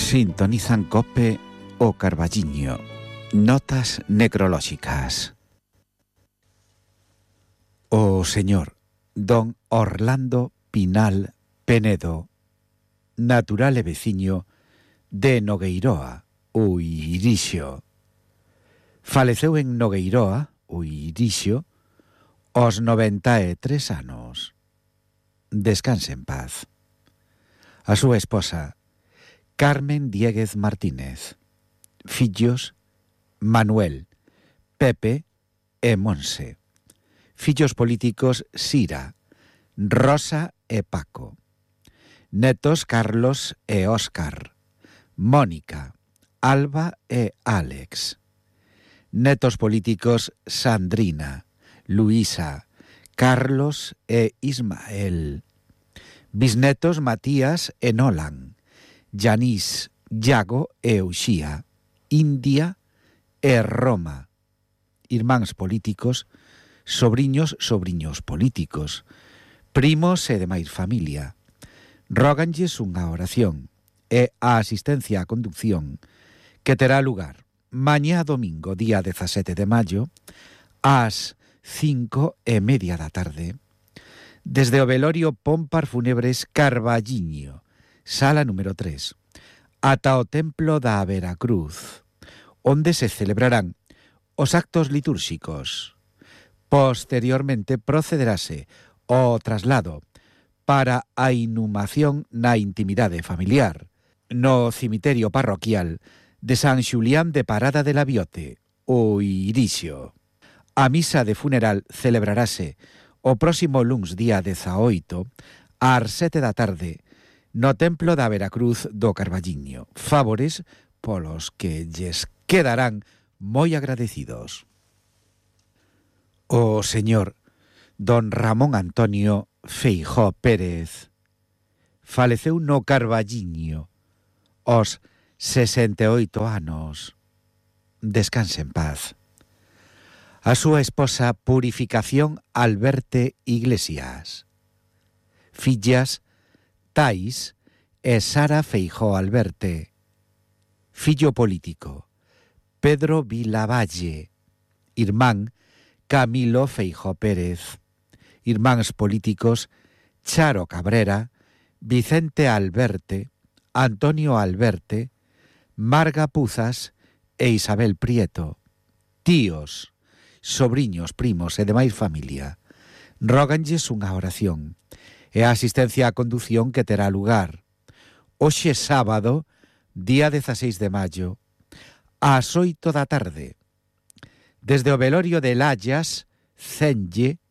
Sintonizan COPE o Carballiño. Notas necrolóxicas. O señor don Orlando Pinal Penedo, natural e veciño de Nogueiroa, Uirixo. Faleceu en Nogueiroa, Uirixo, aos 93 anos. Descanse en paz. A súa esposa, Carmen Diéguez Martínez. Fillos, Manuel, Pepe e Monse. Fillos políticos, Sira, Rosa e Paco. Netos, Carlos e Óscar. Mónica, Alba e Álex. Netos políticos, Sandrina, Luisa, Carlos e Ismael. Bisnetos, Matías e Nolan. Yanís, Yago e Uxía. India e Roma. Irmáns políticos, sobriños políticos, primos e demais familia. Róganlles unha oración e a asistencia á conducción que terá lugar mañá domingo, día 17 de maio, ás 5:30 da tarde, desde o velorio Pompar Fúnebres Carballiño, sala número 3, ata o Templo da Veracruz, onde se celebrarán os actos litúrxicos. Posteriormente procederase ao traslado para a inhumación na intimidade familiar no cemiterio parroquial de San Xulián de Parada de la Biote, Uirixo. A misa de funeral celebrarase o próximo luns día 18 ás 7 da tarde no Templo da Veracruz do Carballiño. Favores polos que lles quedarán moi agradecidos. O señor don Ramón Antonio Feijóo Pérez faleceu no Carballiño aos 68 anos. Descanse en paz. A súa esposa Purificación Alberte Iglesias. Fillas Tais e Sara Feijóo Alberte. Fillo político Pedro Vilavalle. Irmán Camilo Feijóo Pérez. Irmáns políticos Charo Cabrera, Vicente Alberte, Antonio Alberte, Marga Puzas e Isabel Prieto. Tíos, sobriños, primos e demais familia. Róganlles unha oración e a asistencia á condución que terá lugar hoxe sábado, día 16 de maio, ás 8 da tarde, desde o velorio de Layas, Cenlle,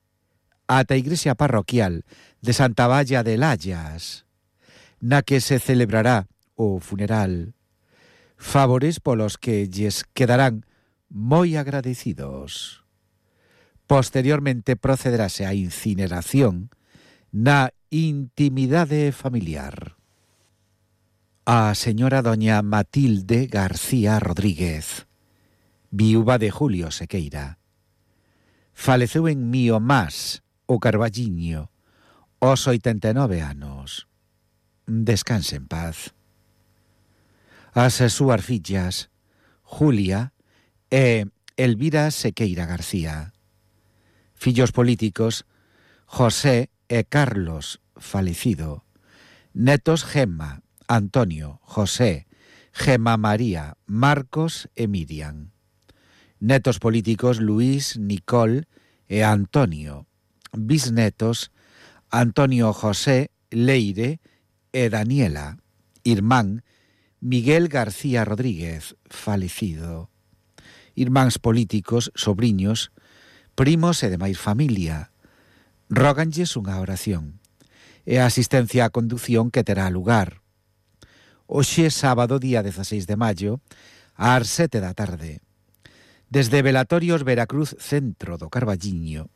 ata a igrexa parroquial de Santa Valla de Layas, na que se celebrará o funeral. Favores polos que lles quedarán moi agradecidos. Posteriormente procederase á incineración na intimidade familiar. A señora doña Matilde García Rodríguez, viúva de Julio Sequeira, faleceu en Miomás, o Carballiño, aos 89 anos. Descanse en paz. As súas fillas, Julia e Elvira Sequeira García. Fillos políticos, José e Carlos, falecido. Netos, Gemma, Antonio, José, Gemma María, Marcos e Miriam. Netos políticos, Luis, Nicole e Antonio. Bisnetos, Antonio José, Leire e Daniela. Irmán, Miguel García Rodríguez, falecido. Irmáns políticos, sobriños, primos e demais familia. Róganlles unha oración e a asistencia á condución que terá lugar hoxe sábado, día 16 de maio, ás 7 da tarde, desde Velatorios Veracruz Centro do Carballiño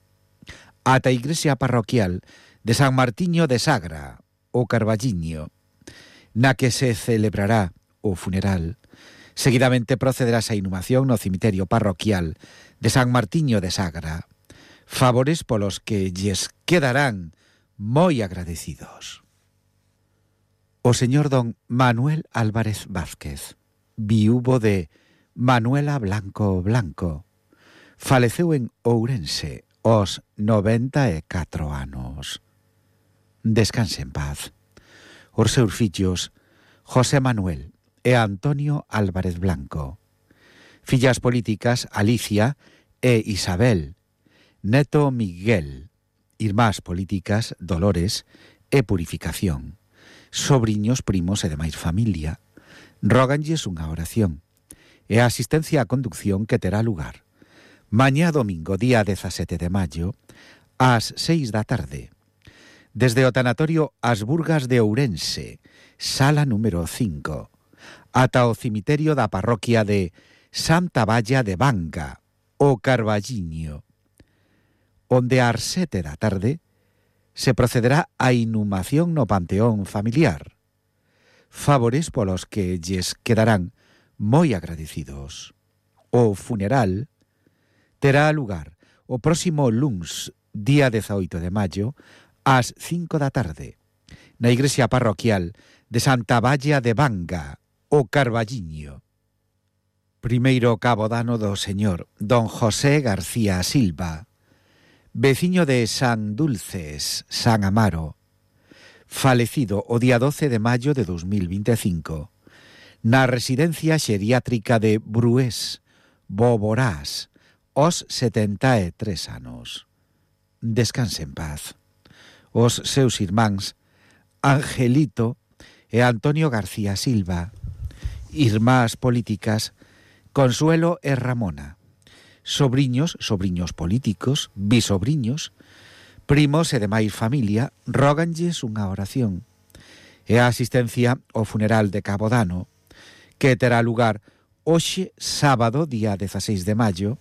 ata a igrexa parroquial de San Martiño de Sagra, o Carballiño, na que se celebrará o funeral. Seguidamente procederá a inhumación no cemiterio parroquial de San Martiño de Sagra. Favores polos que lles quedarán moi agradecidos. O señor don Manuel Álvarez Vázquez, viúvo de Manuela Blanco Blanco, faleceu en Ourense aos 94 anos. Descanse en paz. Os seus fillos José Manuel e Antonio Álvarez Blanco, fillas políticas Alicia e Isabel, neto Miguel, irmás políticas Dolores e Purificación, sobriños, primos e demais familia, róganlles unha oración e a asistencia á conducción que terá lugar mañá domingo, día 17 de maio, ás 6 da tarde, desde o tanatorio As Burgas de Ourense, sala número 5, ata o cemiterio da parroquia de Santa Valla de Banga, o Carballiño, onde ás 7 da tarde se procederá á inhumación no panteón familiar, favores polos que lles quedarán moi agradecidos. O funeral terá lugar o próximo luns, día 18 de maio, ás 5 da tarde, na igrexa parroquial de Santa Valla de Banga, o Carballiño. Primeiro cabodano do señor don José García Silva, veciño de San Dulces, San Amaro, falecido o día 12 de maio de 2025, na residencia xeriátrica de Brués, Boborás, aos 73 anos. Descanse en paz. Os seus irmáns Angelito e Antonio García Silva, irmás políticas Consuelo e Ramona, sobriños políticos, bisobriños, primos e demais familia, róganlles unha oración e a asistencia ao funeral de Cabodano, que terá lugar hoxe, sábado, día 16 de maio,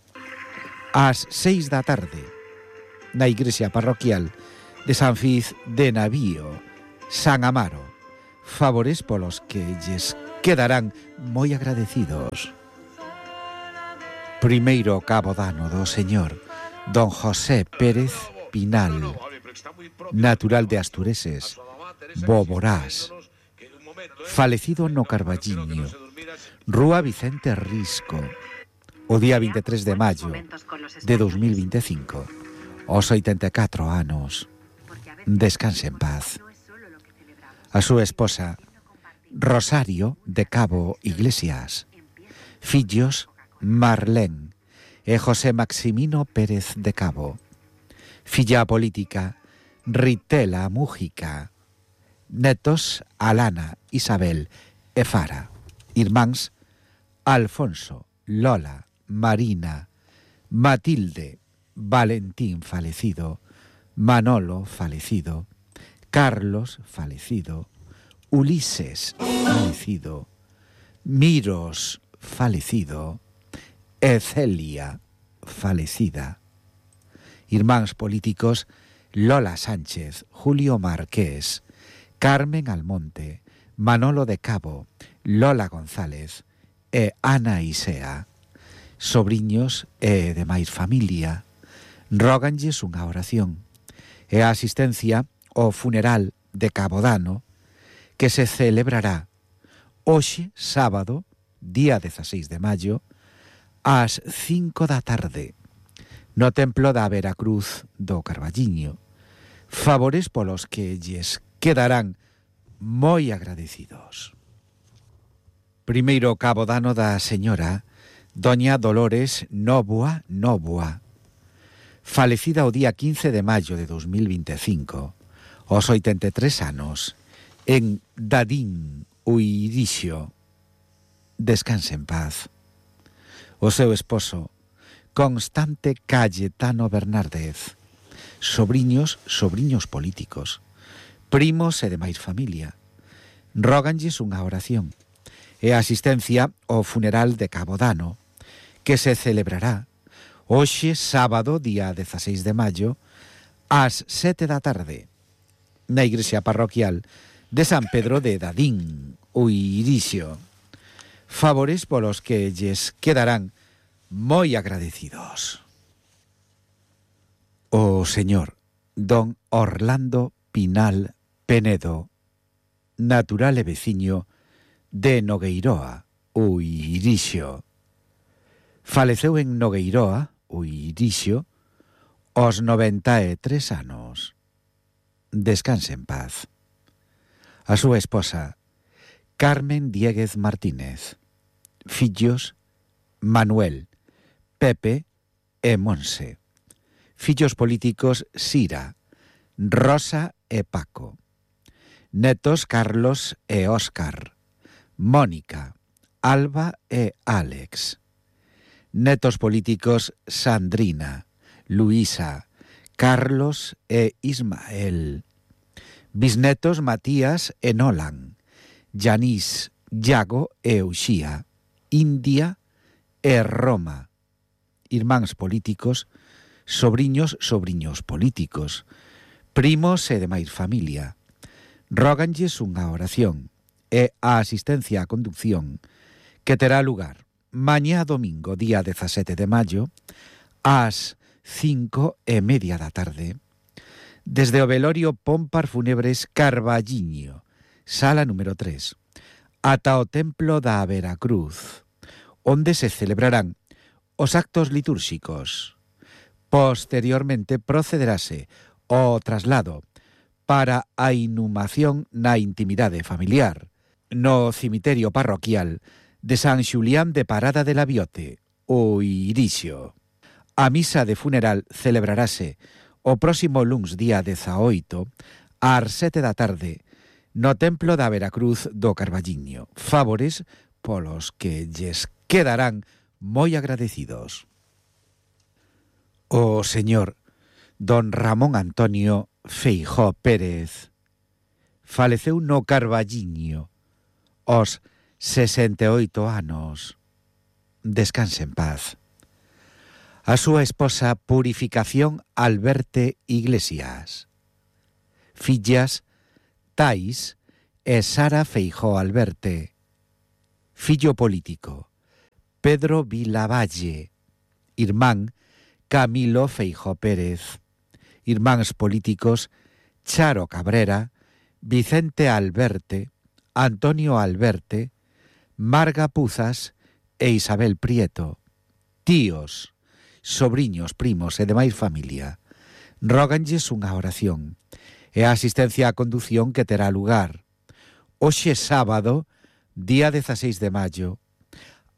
ás 6 da tarde, na igrexa parroquial de San Fiz de Navío, San Amaro, favores polos que lles quedarán moi agradecidos. Primeiro cabodano do señor don José Pérez Pinal, natural de Astureses, Boborás, falecido no Carballiño, Rúa Vicente Risco, o día 23 de maio de 2025, aos 84 anos. Descanse en paz. A súa esposa Rosario de Cabo Iglesias, fillos Marlén e José Maximino Pérez de Cabo, filla política Ritela Mújica, netos Alana, Isabel e Fara, irmáns Alfonso, Lola, Marina, Matilde, Valentín falecido, Manolo falecido, Carlos falecido, Ulises falecido, Miros falecido e Celia falecida. Irmáns políticos Lola Sánchez, Julio Marqués, Carmen Almonte, Manolo de Cabo, Lola González e Ana Isea, sobriños e demais familia, róganlles unha oración e a asistencia ao funeral de Cabodano que se celebrará hoxe, sábado, día 16 de maio, ás 5 da tarde, no templo da Veracruz do Carballiño, favores polos que lles quedarán moi agradecidos. Primeiro cabodano da señora doña Dolores Nóvoa Nóvoa, falecida o día 15 de maio de 2025, aos 83 anos, en Dadín, Uirixo. Descanse en paz. O seu esposo Constante Cayetano Bernárdez, sobriños políticos, primos e demais familia, róganlles unha oración e a asistencia ao funeral de Cabodano que se celebrará hoxe, sábado, día 16 de maio, ás 7 da tarde, na igrexa parroquial de San Pedro de Dadín, Uirixo, favores polos que lles quedarán moi agradecidos. O señor don Orlando Pinal Penedo, natural e veciño de Nogueiroa, o Irixo. Faleceu en Nogueiroa, o Irixo, aos 93 anos. Descanse en paz. A súa esposa, Carmen Diéguez Martínez. Fillos, Manuel, Pepe e Monse. Fillos políticos, Sira, Rosa e Paco. Netos, Carlos e Óscar. Mónica, Alba e Álex. Netos políticos, Sandrina, Luisa, Carlos e Ismael. Bisnetos, Matías e Nolan. Yanís, Iago e Uxía. India e Roma. Irmáns políticos, sobriños políticos, primos e demais familia. Róganlles unha oración e a asistencia á conducción que terá lugar mañá domingo, día 17 de maio, ás 5:30 da tarde, desde o velorio Pompar Fúnebres Carballiño, sala número 3, ata o Templo da Veracruz, onde se celebrarán os actos litúrxicos. Posteriormente procederase ao traslado para a inhumación na intimidade familiar, no cemiterio parroquial de San Xulián de Parada de la Biote, o Irixo. A misa de funeral celebrarase o próximo luns día 18 ás 7 da tarde no Templo da Veracruz do Carballiño. Favores polos que lles quedarán moi agradecidos. O señor don Ramón Antonio Feijóo Pérez faleceu no Carballiño aos 68 anos. Descanse en paz. A súa esposa Purificación Alberte Iglesias. Fillas Tais e Sara Feijóo Alberte. Fillo político Pedro Vilavalle. Irmán Camilo Feijóo Pérez. Irmáns políticos Charo Cabrera, Vicente Alberte, Antonio Alberte, Marga Puzas e Isabel Prieto. Tíos, sobriños, primos e demais familia. Róganlles unha oración e a asistencia á condución que terá lugar hoxe sábado, día 16 de maio,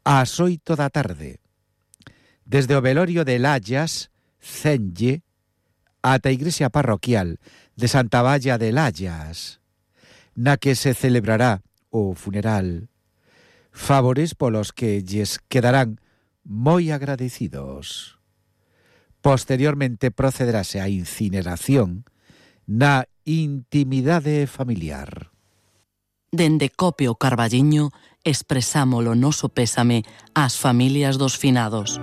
ás 8 da tarde, desde o velorio de Layas, Cenlle, ata a igrexa parroquial de Santa Valla de Layas, na que se celebrará o funeral. Favores polos que lles quedarán moi agradecidos. Posteriormente procederase a incineración na intimidade familiar. Dende Cope o Carballiño expresamos o noso pésame ás familias dos finados.